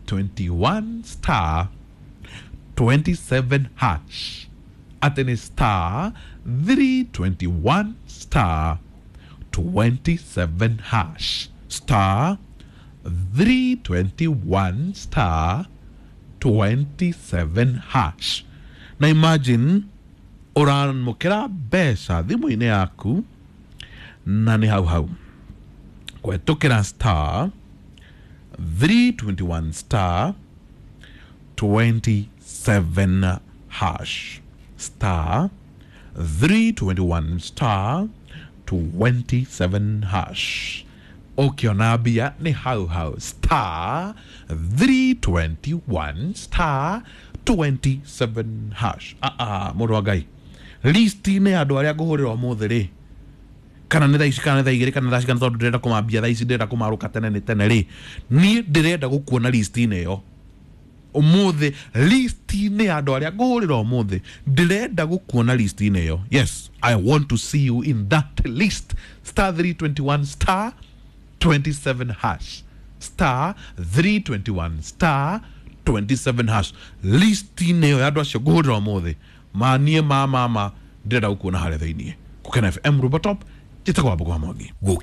321 star 27 hash. Atĩ nĩ star 321 star 27 hash, star 321 star 27 hash. Na imagine ũramũkĩra mbeca thimũ-inĩ yaku na nĩ hau hau kũhetũkĩra star 321 star 27 hash, star 321 star 27 hash. Ũkĩona mbia nĩ hau hau, star 321 star 27 hash. Aa, mũndũ wa Ngai, listi-inĩ ya andũ arĩa ngũhũrĩra ũmũthĩ rĩ, kana nĩ thaa ici, kana nĩ thaa 2, kana thaa cigana, tondũ ndĩrenda kũmambia thaa ici, ndĩrenda kũmarũka tene nĩ tene rĩ, niĩ ndĩrenda gũkuona listi-inĩ ĩyo ũmũthĩ. Listi-inĩ ya andũ arĩa ngũhũrĩra ũmũthĩ, ndĩrenda gũkuona listi-inĩ ĩyo. Yes, I want to see you in that list. Star 321 star 27 hash, star 321 star 27 hash. Listi-inĩ ĩyo ya andũ acio ngũhũrĩra ũmũthĩ, maniĩ ma mama, ndĩrenda gũkuona harĩa thĩiniĩ. Gũkena FM, Rũba Top, njĩtagwo Wambũgũ wa Mwangi. Gũkena.